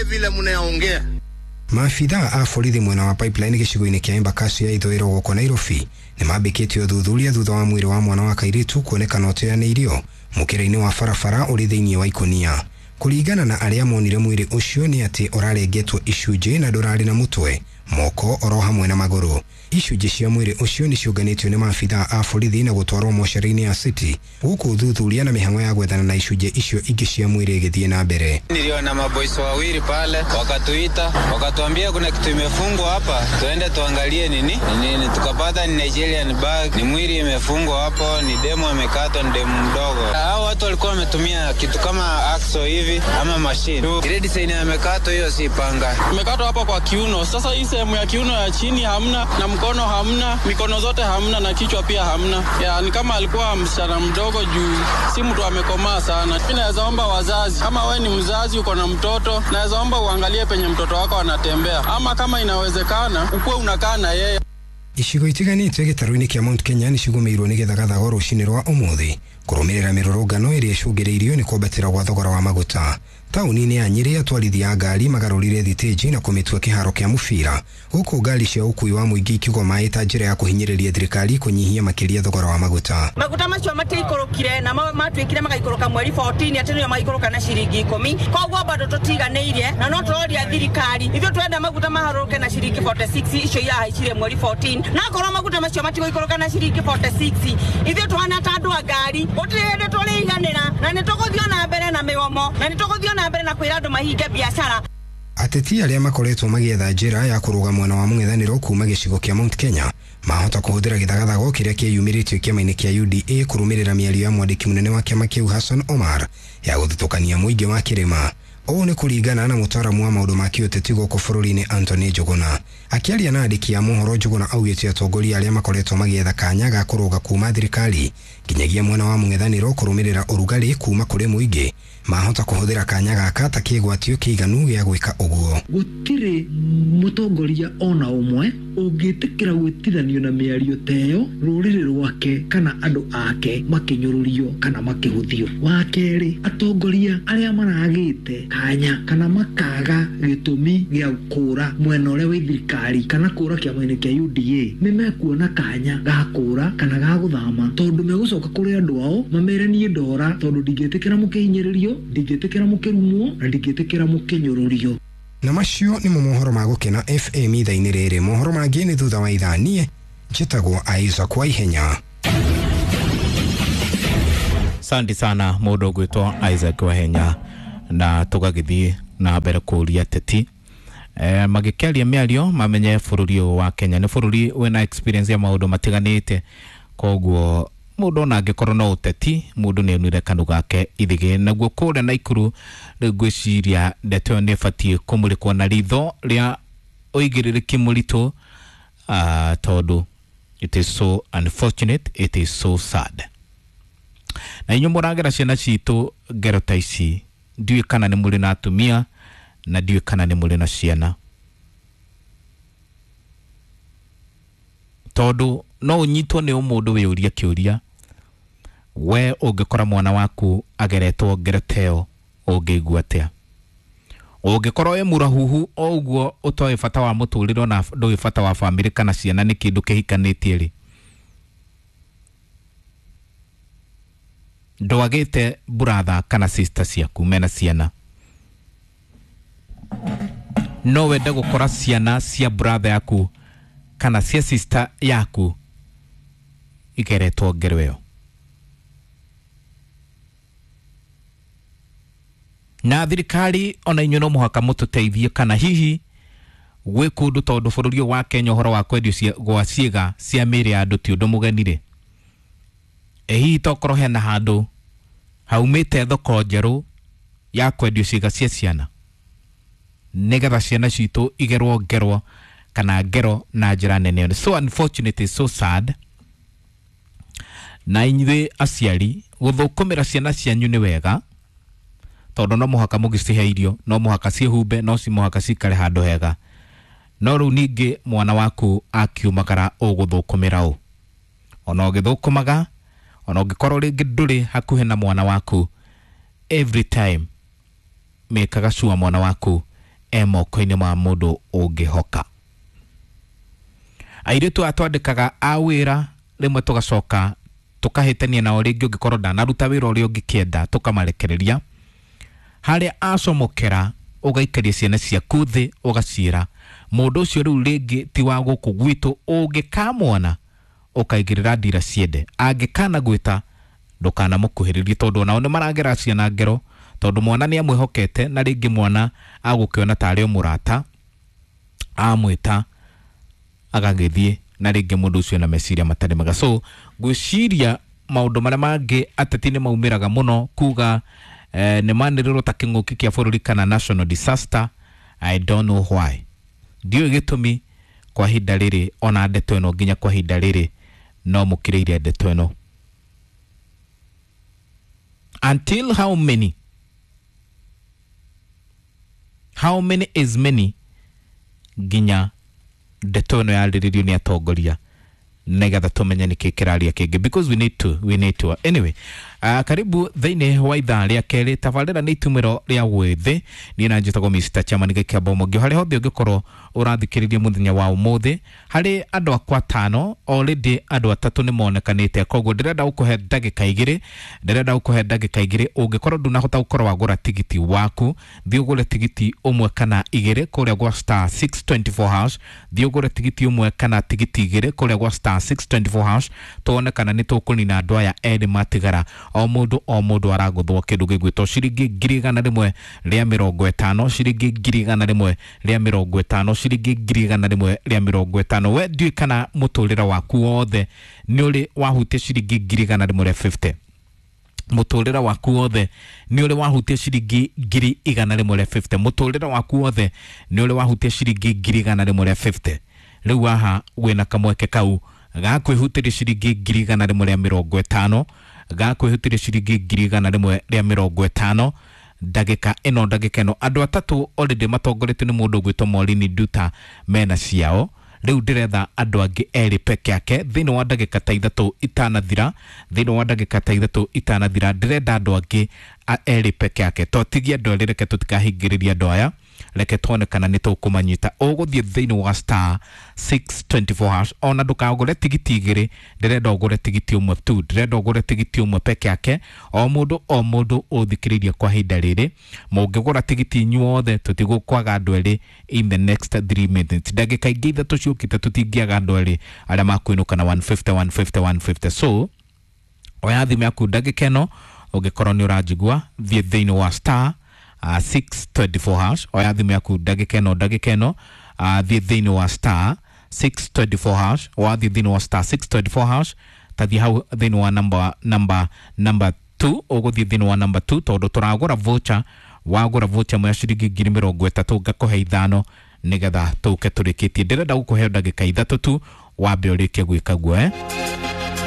Muongee vile mnaongea. Maabithaa a borithi mwena wa Pipeline gĩcigo-inĩ kĩa Embakasi ya ithũĩro gũkũ Nairobi nĩ mambĩkĩtie ũthuthuria thutha wa mwĩrĩ wa mwana wa kairĩtu kuonekana ũteanĩirio mũkĩra-inĩ wa barabara ũrĩ thĩinĩ wa ikũnia. Kũringana na arĩa monire mwĩrĩ ũcio nĩ atĩ ũrarengetwo icunjĩ na ndũrarĩ na mũtwe, moko oro hamwe na magũrũ. Icunjĩ cia mwĩrĩ ũcio nĩ ciũnganĩtio nĩ maabithaa a borithi na gũtwarwo mocarĩ-inĩ ya City gũkũ ũthuthuria na mĩhang'o ya gwethana na icunjĩ icio ingĩ cia mwĩrĩ ĩgĩthiĩ na mbere. Niliona maboys wawili pale wakatuita, wakatuambia kuna kitu imefungwa hapa, tuende tuangalie nini nini. Tukapata ni Nigerian bag, ni mwili imefungwa hapo, ni demo amekatwa, ni demo mdogo. Hao watu walikuwa wametumia kitu kama axo hivi ama machine. Ile design amekatwa hiyo si panga. Imekatwa hapa kwa kiuno. Sasa hii sehemu ya kiuno ya chini hamna, na mkono hamna, mikono zote hamna, na kichwa pia hamna. Ya, ni kama alikuwa msichana mdogo juu si mtu amekomaa sana. Mimi naweza omba wazazi, kama we ni mzazi uko na mtoto, naweza omba uangalie penye mtoto wako anatembea, ama kama inawezekana ukuwe unakaa na yeye. Icigo itiganĩte gĩtarũ-inĩ kĩa Mount Kenya nĩ cigũmĩirwo nĩ gĩthagathago rũcinĩ rwa ũmũthĩ kũrũmĩrĩra mĩrũrũngano ĩrĩa ĩcũngĩrĩirio nĩ kwambatĩra gwa thogora wa maguta. Taũni-inĩ ya Nyĩrĩ atwarithia a ngari magarũrire thitĩnji na kũmĩtua kĩharo kĩa mũbira gũkũ ngari cia ũkuui wa mũingĩ ikiugwo maĩ ta njĩra ya kũhinyĩrĩria thirikari kũnyihia makĩria thogora wa maguta. Maguta macio matiaikũrũkire na matuĩkire magaikũrũka mweri 14 atĩ nĩo maikũrũka na ciringi 10, koguo bado tũtiganĩirie na no tũroria thirikari ithuĩ twenda maguta maharũrũke na ciringi 46 icio irahaicire mweri 14, na akorwo maguta macio matigũikũrũka na ciringi 46 ithuĩ tũhana ta andũ a ngari gũtirĩ hĩndĩ tũrĩiganĩra na nĩ tũgũthiĩ na mbere na mĩgomo na nĩ tũgũthiĩ na mbere na kwĩra andũ mahinge biacara. Ateti arĩa makoretwo magĩetha njĩra ya kũrũga mwena wa mũng'ethanĩro kuma gĩcigo kĩa Mount Kenya mahota kũhũthĩra gĩthagathago kĩrĩa kĩyumĩrĩtio kĩama-inĩ kĩa UDA kũrũmĩrĩra mĩario ya mwandĩki mũnene wa kĩama kĩu Hassan Omar ya gũthutũkania mũingĩ wa kĩrĩma. Ũũ nĩ kũringana na mũtaaramu wa maũndũ ma kĩũteti gũkũ bũrũri-inĩ Anthony Njuguna. Akĩaria na andĩki a mohoro, Njuguna augĩte atongoria arĩa makoretwo magĩetha kanya ga kũrũga kuma thirikari nginyagia mwena wa mũng'ethanĩro kũrũmĩrĩra ũrugarĩ kuma kũrĩ mũingĩ mahota kũhũthĩra kanya gaka ta kĩgwatio kĩiganu gĩa gwĩka ũguo. Gũtirĩ mũtongoria ona ũmwe ũngĩtĩkĩra gwĩtithanio na mĩario ta ĩyo rũrĩrĩ rwake kana andũ ake makĩnyũrũrio kana makĩhũthio. Wa kerĩ, atongoria arĩa maragĩte kanya kana makaga gĩtũmi gĩa kũra mwena ũrĩa wĩ thirikari kana kũra kĩama-inĩ kĩa UDA nĩ mekuona kanya ga kũra kana ga gũthama, tondũ megũcoka kũrĩ andũ ao mamere niĩ ndora, tondũ ndingĩtĩkĩra mũkĩhinyĩrĩrio, ndingĩtĩkĩra mũkĩrumwo na ndingĩtĩkĩra mũkĩnyũrũrio. Na macio nĩmo mohoro ma Gũkena FM ithaa-inĩ rĩrĩ. Mohoro mangĩ nĩ thutha wa ithaa. Niĩ njĩtagwo Isaac Waihenya. Asante sana mũndũ ũgwĩtwo Isaac Waihenya, na tũgagĩthiĩ na mbere kũria ateti magĩkĩaria mĩario mamenye bũrũri ũyũ wa Kenya nĩ bũrũri wĩna experience ya maũndũ matiganĩte, koguo mũndũ ona angĩkorwo no ũteti mũndũ nĩ onire kanu gake ithigĩ. Naguo kũrĩa Naikuru rĩu ngwĩciria ndeto ĩyo nĩ ĩbatiĩ kũmũrĩkwo na ritho rĩa ũigĩrĩrĩki mũritũ, tondũ it is so unfortunate, it is so sad. Na inyuĩ mũragera ciana citũ ngero ta ici, ndiũĩ kana nĩ mũrĩ na atumia na ndiũĩ kana nĩ mũrĩ na ciana, tondũ no ũnyitwo nĩ ũmũndũ wĩyũrie kĩũria, we ũngĩkora mwana waku ageretwo ngero ta ĩyo ũngĩigua atĩa? Ũngĩkorwo wĩ mũrahuhu o ũguo ũtoĩ bata wa mũtũrĩre ona ndũĩ bata wa bamĩrĩ kana ciana nĩ kĩndũ kĩhikanĩtie rĩ, ndwagĩte brother kana sister ciaku mena ciana, no wende gũkora ciana cia brother yaku kana cia sister yaku igeretwo ngero ĩyo? Na thirikari ona inyuĩ no mũhaka mũtũteithie, kana hihi gwĩ kũndũ, tondũ bũrũri ũyũ wa Kenya ũhoro wa kwendio gwa ciĩga cia mĩĩrĩ ya andũ ti ũndũ mũgeni rĩ, ĩ hihi tokorwo hena handũ haumĩte thoko njerũ ya kwendio ciĩga cia ciana nĩgetha ciana citũ igerwo ngerwo kana ngero na njĩra nene. So unfortunate, so sad. Na inyuĩ aciari gũthũkũmĩra ciana cianyu nĩ wega, tondũ no mũhaka mũgĩcihe irio, no mũhaka ciĩhumbe, no mũhaka cikare handũ hega, no rĩu ningĩ mwana waku akiumagara ũgũthũkũmĩra ũ? Ona ũgĩthũkũmaga, ona ũngĩkorwo rĩngĩ ndũrĩ hakuhĩ na mwana waku, every time mekaga sure mwana waku e moko-inĩ ma mũndũ ũngĩhoka. Airĩtu aya twandĩkaga a wĩra rĩmwe tũgacoka tũkahĩtania nao rĩngĩ, ũngĩkorwo ndanaruta wĩra ũrĩa ũngĩkĩenda tũkamarekereria. Harĩa acomokera ũgaikaria ciana ciaku thĩ ũgaciĩra mũndũ ũcio rĩu rĩngĩ ti wa gũkũ gwitũ, ũngĩkamwona ũkaigĩrĩra ndira ciende, angĩkana gwĩta ndũkanamũkuhĩrĩrie, tondũ onao nĩ maragera ciana ngero, tondũ mwana nĩ amwĩhokete na rĩngĩ mwana agũkĩona tarĩ o mũrata amwĩta agagĩthiĩ na rĩngĩ mũndũ ũcio na meciria matarĩ mega. So ngwĩciria maũndũ marĩa mangĩ ateti nĩ maumĩraga mũno kuga nĩ manĩrĩrwo ta kĩng'ũki kĩa bũrũri kana national disaster. I don't know why, ndiũĩ gĩtũmi kwa ihinda rĩrĩ, ona ndeto ĩno nginya kwa ihinda rĩrĩ no mũkĩrĩire ndeto ĩno until how many, how many is many, nginya ndeto ĩno yarĩrĩrio nĩ atongoria nĩgetha tũmenye nĩkĩ kĩraria kĩngĩ, because we need to, we need to. Anyway, karibu thĩinĩ wa ithaa rĩa kerĩ. Tabarĩra nĩ itumĩro rĩa wĩthĩ, niĩ na njĩtagwo Mr. Chairman Gĩkĩamba Mũngĩ. Harĩa hothe ũngĩkorwo ũrathikĩrĩria mũthenya wa ũmũthĩ, harĩ andũ akwa atano already andũ atatũ nĩ monekanĩte, koguo ndĩrenda gũkũhe ndagĩka igĩrĩ, ndĩrenda gũkũhe ndagĩka igĩrĩ. Ũngĩkorwo ndũnahota gũkorwo wagũra tigiti waku, thiĩ ũgũre tigiti ũmwe kana igĩrĩ kũrĩa gwa star 624 hash, thiĩ ũgũre tigiti ũmwe kana tigiti igĩrĩ kũrĩa gwa star 624 hash, tuone kana nĩ tũkũnina andũ aya erĩ matigara. O mũndũ o mũndũ aragũthwo kĩndũ gĩgwĩtwo ciringi 150,000, ciringi 150,000, ciringi 150,000. We ndiũĩ kana mũtũrĩre waku wothe nĩ ũrĩ wahutia ciringi 150,000, mũtũrĩre waku wothe nĩ ũrĩ wahutia ciringi 150,000, mũtũrĩre waku wothe nĩ ũrĩ wahutia ciringi 150,000. Rĩu haha wĩna kamweke kau ga kwĩhutĩria ciringi 150,000, ga kwĩhutĩria ciringi 150,000 ndagĩka ĩno, ndagĩka ĩno andũ atatũ already matongoretio nĩ mũndũ ũgwĩtwo Maureen Nduta mena ciao. Rĩu ndĩretha andũ angĩ erĩ peke yake thĩinĩ wa ndagĩka ta ithatũ itanathira, thĩinĩ wa ndagĩka ta ithatũ itanathira ndĩrenda andũ angĩ erĩ peke yake. Totigie andũ erĩ, reke tũtikahingĩrĩria andũ aya, reke tuone kana nĩ tũkũmanyita. Ũgũthiĩ thĩinĩ wa star 624 hash, ona ndũkagũre tigiti igĩrĩ, ndĩrenda ũgũre tigiti ũmwe tu, ndĩrenda ũgũre tigiti ũmwe peke yake. O mũndũ o mũndũ ũthikĩrĩirie kwa ihinda rĩrĩ, mũngĩgũra tigiti inyuothe tũtigũkwaga andũ erĩ in the next 3 minutes, ndagĩka ingĩ ithatũ ciũkĩte tũtingĩaga andũ erĩ arĩa makwĩnũka na 150 150 150. So oya thimũ yaku ndagĩka ĩno, ũngĩkorwo nĩ ũranjigua, thiĩ thĩinĩ wa star 624 hash, oya thimũ yaku ndagĩka ĩno, ndagĩka ĩno, thiĩ thĩinĩ wa star 624 hash, wathiĩ thĩinĩ wa star 624 hash, tathiĩ hau thĩinĩ wa number 2, ũgũthiĩ thĩinĩ wa number 2 tondũ tũragũra voucher, wagũra voucher ĩmwe ya ciringi 30,000 ngakũhe ithano nĩgetha tũke tũrĩkĩtie. Ndĩrenda gũkũhe ndagĩka ithatũ tu wambe ũrĩkie gwĩka guo.